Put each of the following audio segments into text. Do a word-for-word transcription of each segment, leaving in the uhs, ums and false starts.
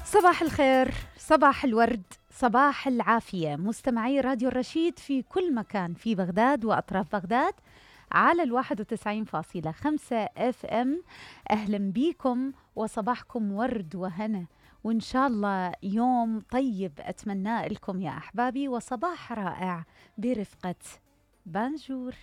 صباح الخير، صباح الورد، صباح العافية، مستمعي راديو الرشيد في كل مكان في بغداد وأطراف بغداد على الواحد وتسعين فاصلة خمسة اف ام. أهلا بيكم وصباحكم ورد وهنا، وإن شاء الله يوم طيب أتمنى لكم يا أحبابي، وصباح رائع برفقة بانجور.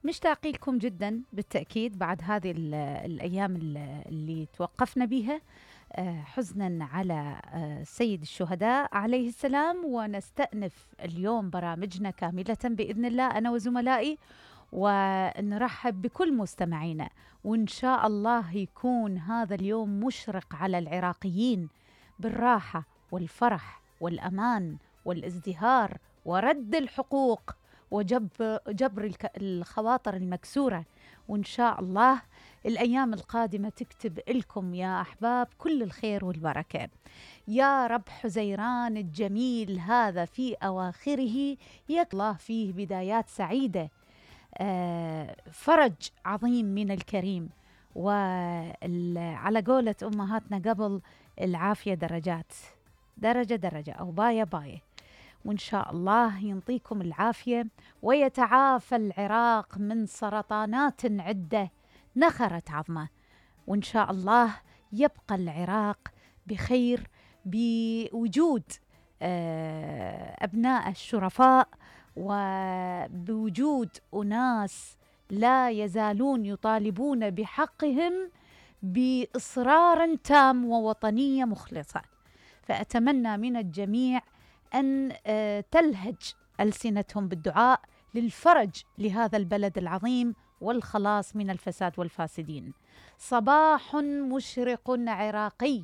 مشتاقين لكم جدا بالتأكيد بعد هذه الأيام اللي توقفنا بها حزنا على سيد الشهداء عليه السلام، ونستأنف اليوم برامجنا كاملة بإذن الله أنا وزملائي، ونرحب بكل مستمعينا، وإن شاء الله يكون هذا اليوم مشرق على العراقيين بالراحة والفرح والأمان والازدهار ورد الحقوق وجبر جبر الخواطر المكسورة. وإن شاء الله الأيام القادمة تكتب لكم يا أحباب كل الخير والبركة يا رب. حزيران الجميل هذا في أواخره يك الله فيه بدايات سعيدة، آه فرج عظيم من الكريم، وعلى قولة أمهاتنا قبل، العافية درجات، درجة درجة أو باية باية. وإن شاء الله ينطيكم العافية ويتعافى العراق من سرطانات عدة نخرت عظمه، وإن شاء الله يبقى العراق بخير بوجود أبناء الشرفاء، وبوجود أناس لا يزالون يطالبون بحقهم بإصرار تام ووطنية مخلصة. فأتمنى من الجميع أن تلهج ألسنتهم بالدعاء للفرج لهذا البلد العظيم والخلاص من الفساد والفاسدين. صباح مشرق عراقي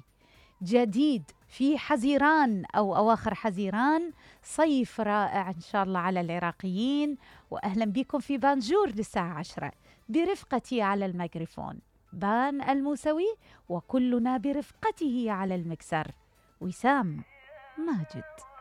جديد في حزيران أو أواخر حزيران، صيف رائع إن شاء الله على العراقيين. وأهلا بكم في بانجور للساعة عشرة برفقتي على الميكروفون بان الموسوي، وكلنا برفقته على المكسر وسام ماجد.